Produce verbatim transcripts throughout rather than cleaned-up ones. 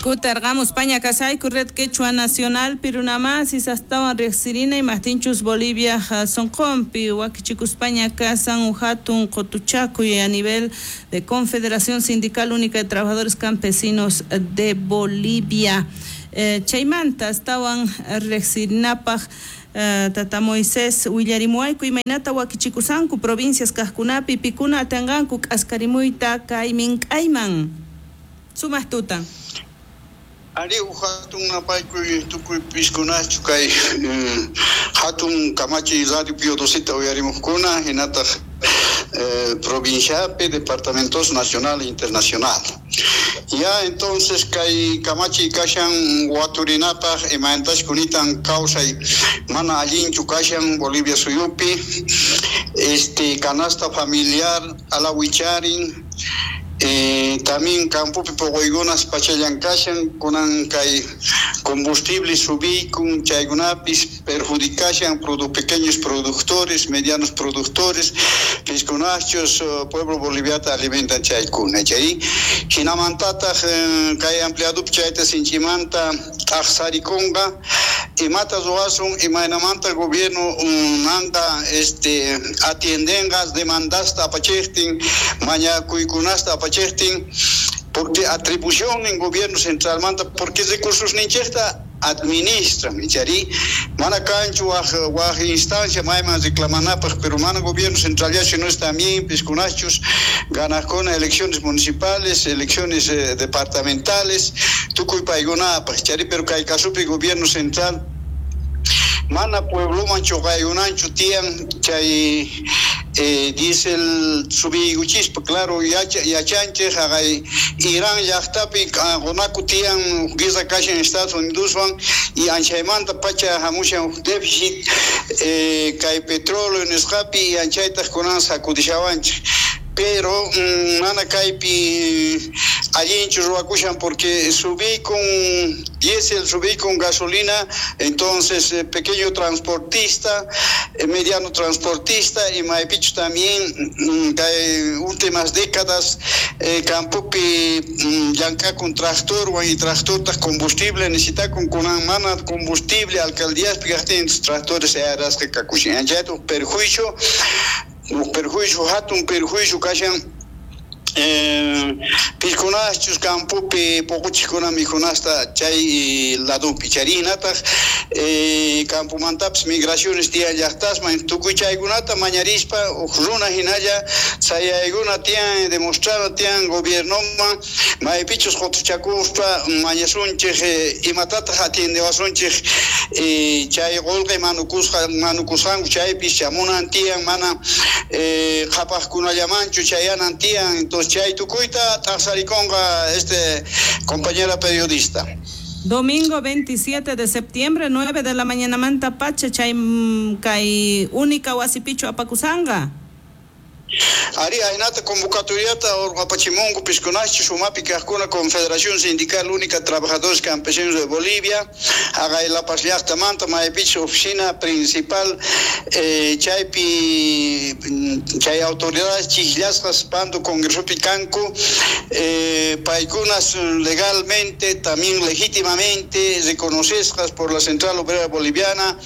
Kutarqamuspaña kasayku Red Quechua Nacional Pirunamasis astawan riqsirina imaqtinchus Bolivia sonqonpi wakichikuspaña kasan hatun qotuchakuy a nivel de Confederación Sindical Única de Trabajadores Campesinos de Bolivia. Eh, chaymanta astawan riqsirinapaq Uh, Tata Moisés willarimuwayku imaynata wakichikusanku provincias kaqkunapi pikuna atinqanku k'askarimuyta kay mink'ayman. Sumaq tuta. Ari hatun napaykuy tukuy piskunachu kay hatun kamachi Radio Pío Doceta uyarimuqkuna hinataq eh, provinciapi departamentos nacional e internacional. Ya entonces kay kamachi kashan waturinapaq imaynatash kunitan kawsay mana allinchu kashan Bolivia suyupi este canasta familiar alawicharin. Eh, también campopi poquykunas pachallan kashan kunan kay combustible subiykun chaykunapis perjudicashan produ pequeños productores, medianos productores, piskunachos uh, pueblo boliviata alimentan chaykuna chay hinamantataq eh, kay empleadupi chayta sinchimanta t'aqsarikunqa imata ruwasun imaynamanta gobierno um, nanta este atiendenqa demandasta apachiqtin mañakuykunasta apachiqtin porque atribución en gobierno central manta porque recursos ninchejta administran chari mana kanchu waj waj instancia mayman reclamanapaq pero mana gobierno central ya sino es también piskunachos ganajkuna elecciones municipales elecciones eh, departamentales tukuy paykunapaq chari pero kay kasupi gobierno central mana puebloman chuqaykunanchu tiyan chay eh, diésel subiykuchispa claro yacha yachanchik haqay Irán llaqtapi qunaku tiyan guerra kashan Estados Unidoswan y anchaymanta pacha hamushan déficit eh, kay petróleo nisqapi y anchaytaq kunan sacudishawanchik pero mm, mana kaypi allinchu ruwakushan porque subí con diésel, subí con gasolina, entonces eh, pequeño transportista, eh, mediano transportista y maypichu también mm, kay últimas décadas eh, campopi mm, llank'akun tractorwan y tractortaq combustible necesitakun kunan mana combustible alcaldíaspi kaqtin tractores ayarasqa kakushan anchayta perjuicio perjuicio hatun perjuicio kashan eh, piskunachus campopi poquchikuna mikhunasta chay ladupi charinataq eh, campomantapis migraciones tiyan llaqtasman tukuy chaykunata mañarispa uj runa hinalla sayaykuna tiyan demostrana tiyan gobiernoman maypichus qutuchakuspa mañasunchik eh, imatataq atiendewasunchik eh, chay qullqi manukusqa manukusqanku chaypis chamunan tiyan mana eh, qhapaqkunallamanchu chayanan tiyan entonces chay tukuyta t'aqsarikunqa este compañera periodista. Domingo veintisiete de septiembre, nueve de la mañana manta pacha chay kay única wasipichu apakusanqa. Ari ahinata convocatoriata urqapachimunku piskunachi sumapi kaqkuna Confederación Sindical Única Trabajadores Campesinos de Bolivia haqay La Paz llaqtamanta maypichus oficina principal eh, chaypi chay autoridades chiqllasqas Pando Congresopi kanku eh, paykunas legalmente también legítimamente reconocesqas por la Central Obrera Boliviana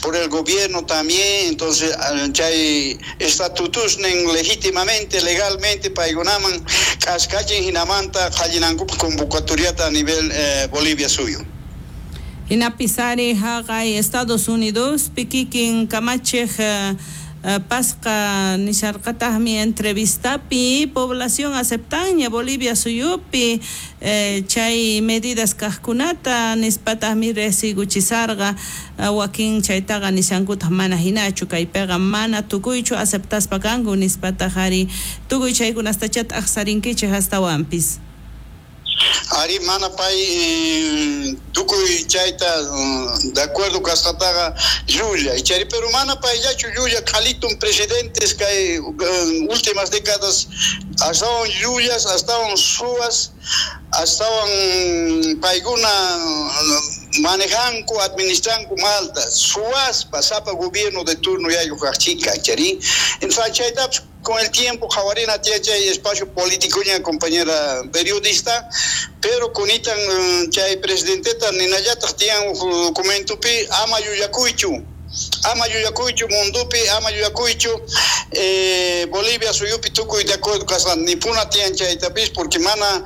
por el gobierno también entonces chay estatutusnin legítimamente, legalmente, paykunaman k'askachin hinamanta qallinankupaq convocatoriata a nivel eh, Bolivia suyo. Hinapisari haqay Estados Unidos pikikin kamachiq uh, uh, pasqa nisharqataqmi entrevistapi población aceptaña Bolivia suyupi eh, chay medidas kaqkunata nispataqmi riqsiykuchisarqa uh, wakin chaytaqa nishankutaq mana hinachu kaypiqa mana tukuychu aceptaspa kanku nispataq ari tukuy chaykunastachá t'aqsarinkichik astawanpis. Ari mana pay eh, tukuy chayta de acuerdo kasqataqa llulla chari pero mana payllachu llulla qhalitun presidentes kay eh, últimas décadas astawan llullas astawan suwas astawan paykuna manejanku administranku malta suwaspa sapa gobierno de turno yayuq kaqchika chari entonces chaytapis Con el tiempo qhawarina tiyan chay espacio político ña, compañera periodista, pero kunitan chay presidenteta ninallataq tiyan documentopi ama yuyakuychu, ama yuyakuychu mundupi, ama yuyakuychu eh, Bolivia suyupi tukuy de acuerdo kasqan nipuna tiyan chaytapis, porque mana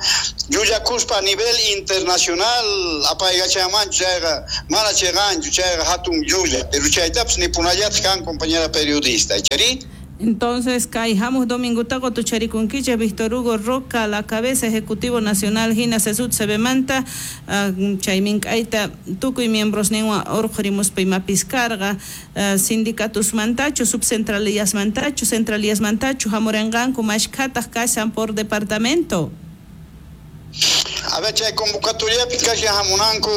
yuyakuspa a nivel internacional apaykachamanchu chayqa mana chayqanchu chayqa hatun llulla, pero chaytapis nipunallataq kan, compañera periodista, chari. Entonces, kay hamuq domingota qotucharikunkichej Víctor Hugo Roca, la cabeza ejecutivo nacional hina C S U T C B manta, uh, chaymin k'ayta tukuy miembros ninwan urqhurimuspa imapis karqa, uh, sindicatusmantachu, subcentralillasmantachu, centralillasmantachu hamuranqanku, mashkhataq kashan por departamento? A ver, chay convocatoriapi kashan hamunanku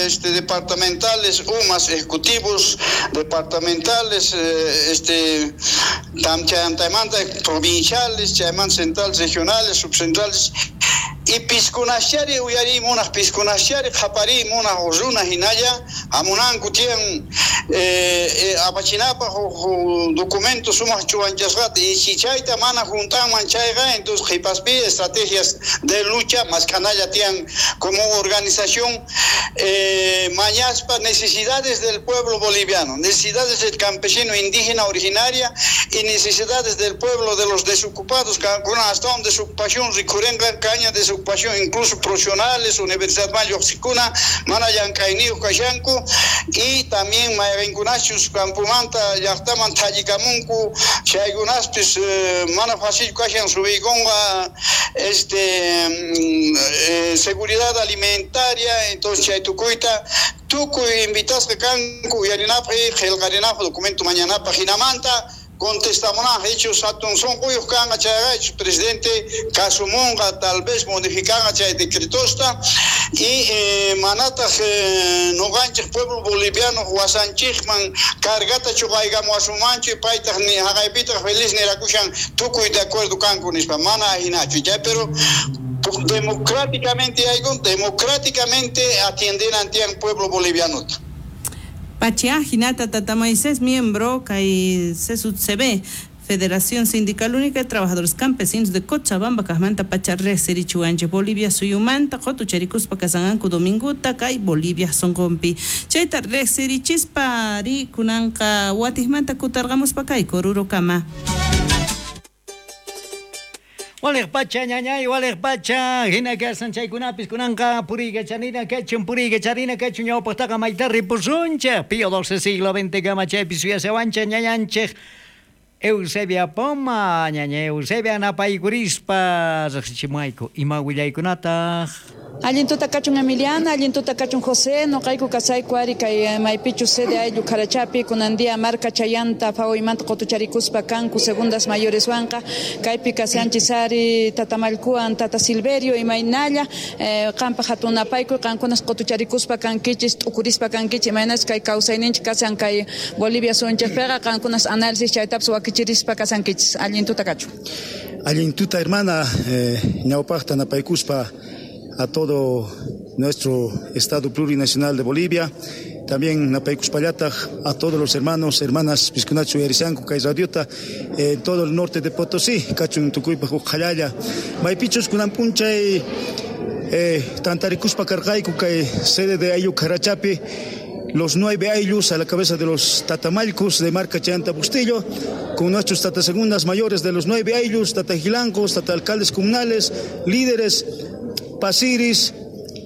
este, departamentales, umas ejecutivos departamentales, este, tam chaymanta provinciales, chaymanta centrales, regionales, subcentrales, y piskunaschari uyarimunaj, piskunaschari qhaparimunaj runa hinalla hamunanku tiyan eh, eh, apachinapaj huk documento sumaq chuwanchasqata, y si chayta mana juntanman chayqa, entonces qhipaspi estrategias de lucha mask'analla tiyan como organización, eh, mañaspa necesidades del pueblo boliviano, necesidades del campesino indígena originaria y necesidades del pueblo de los desocupados, con hasta un desocupación rikurenqa caña desocupación incluso profesionales, universidad lluqsikuna mana llank'ayniyuq kashanku, y también mayqinkunachus campomanta llaqtaman thallikamunku chaykunaspis eh, mana fácil kashan subiykunqa este eh, seguridad alimentaria. Entonces chay tukuyta tukuy invitasqa kanku uyarinapaq, qillqarinapaq documento mañanapaq, hinamanta contestamunaj hechos hatun sunquyuq kanqa chayqa presidente kasumunqa, tal vez modificanqa chay decretosta, y eh, manataq eh, nuqanchik pueblo boliviano wasanchikman cargata chuqaykamuwasunmanchu, paytaq ni haqaypitaq feliz nirakushan tukuy de acuerdo kanku nispa, mana hinachu chay, pero democráticamente haykun, democráticamente atiendenan tiyan pueblo boliviano. Pachia hinata tata Moisés, miembro kay C S U T C B, Federación Sindical Única de Trabajadores Campesinos de Cochabamba, kajmanta pacha riqsirichiwanchik Bolivia suyumanta qotucharikuspa kasanqanku dominguta kay Bolivia sunqunpi. Chayta riqsirichispa ri kunanqa watijmanta kutarqamuspa kay Orurokama. Waliq pacha ñañay, waliq pacha, hina kasan chaykunapis kunanqa puriykachanina kachun, puriykacharina kachun ñawpaqtaqa mayta ripusunchik Pío doce siglo veinte kama chaypi suyasawanchik ñañanchik Eusebia Poma, ñaña Eusebia, napaykurispa riqsichimuayku ima willaykunataq. Allin tuta kachun, Emiliana, allin tuta kachun, José. Noqayku kasayku ari kay maypichu sede ayllu Karachapi, kunan día marka chayanta fawaymanta qotucharikuspa kanku segundas mayores wanqa kaypi kashanchis ari tatamalkuwan. Tata Silverio, imaynalla eh, qanpaq hatun napaykuy, qankunas qotucharikuspa kankichis, t'ukurispa kankichis imaynas kay kawsayninchik kashan kay Bolivia suyunchikpiqa, qankunas análisis chaytapas wakichirispa kasankichis. Allin tuta kachun. Allin tuta, hermana, eh, ñawpaqta napaykuspa a todo nuestro Estado Plurinacional de Bolivia. También napaykuspallataq a todos los hermanos, hermanas piskunachu uyarishanku kay radiota en todo el norte de Potosí, kachun tukuypaq uqhallalla. Maypichus kunan p'unchay eh, tantarikuspa karqayku kay sede de ayllu Karachapi, los nueve ayllus a la cabeza de los tatamallkus de marca Chayanta Bustillo, con nuestros tatasegundas mayores de los nueve ayllus, tatajilancos, tata alcaldes comunales, líderes, pasiris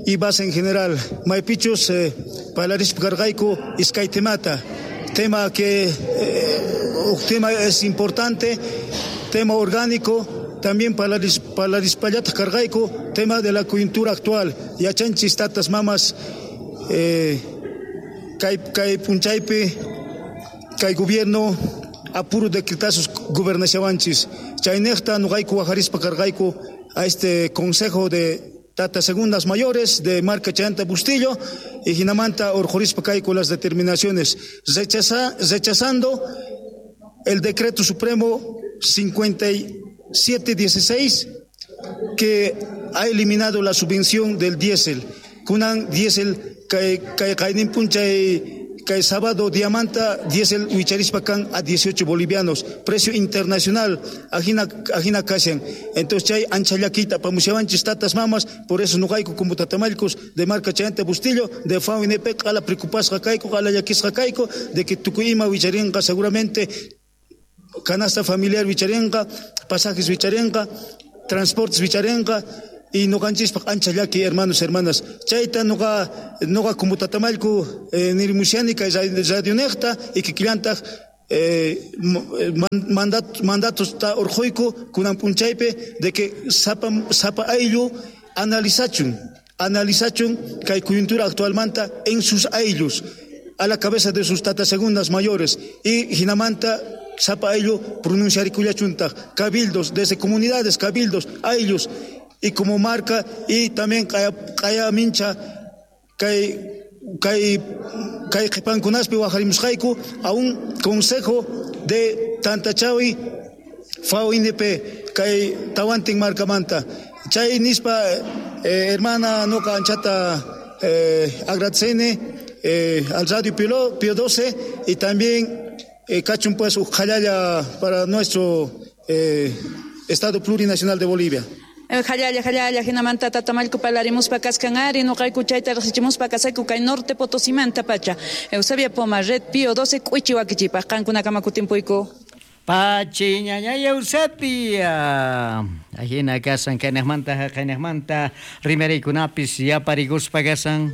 y base en general. Maypichus eh, parlarispa karqayku iskay temata. Tema que eh, tema es importante, tema orgánico, también parlaris, parlarispallataq karqayku tema de la coyuntura actual. Yachanchis tatas mamas eh, kay kay p'unchaypi kay gobierno a puro decretazos gobernashawanchis. Chaynejta nuqayku wajarispa karqayku a este consejo de tata segundas mayores de marca Chayanta Bustillo y hinamanta urqhurispa kayku las determinaciones rechaza, rechazando el decreto supremo cincuenta y siete dieciséis que ha eliminado la subvención del diésel. Kunan diésel kay kay qaynin p'unchay kay sábado diamanta diésel wicharispa kan a dieciocho bolivianos, precio internacional, ajina ajina kashan. Entonces chay ancha llakita pamushawanchis tatas mamas, por eso noqayku como tatamallkus de marca Chayanta Bustillo, de F A O N P, qala preocupasqa kayku, qala llakisqa kayku, de que tukuy ima wicharinqa seguramente canasta familiar wicharinqa, pasajes wicharinqa, transportes wicharinqa, y noqanchispaq ancha llaki, hermanos, hermanas. Chayta noqa noqa como tatamallku eh, nirimushani kay radionejta y kikillantaq eh, mandat, mandatos ta urquyku kunan p'unchaypi de que sapa sapa ayllu analizachun analizachun kay coyuntura actualmanta en sus ayllus a la cabeza de sus tatas segundas mayores y jinamanta sapa ayllu pronunciarikullachuntaq cabildos desde comunidades, cabildos, ayllus y como marca y también kaya kaya mincha kay kay kay qhipankunaspi wajarimusqayku a un consejo de Tantachawi F A O N P kay tawantin marcamanta chay nispa eh, hermana noqa anchata eh, agradecene eh, al Radio Pío, Pío doce y también eh, kachun pues ujallalla para nuestro eh, Estado Plurinacional de Bolivia. Jallalla, jallalla, jinamanta tatamallku parlarimuspa kaskan ari, noqayku chayta riqsichimuspa kasayku kay norte Potosimanta pacha. Eusebia Poma, Red Pío doce, k'uichi wakichipaq, qankunakama kutimpuyku. Pachi ñañay Eusebia. Ajina kasan kaynejmanta haqaynejmanta rimariykunapis yaparikuspa kasan.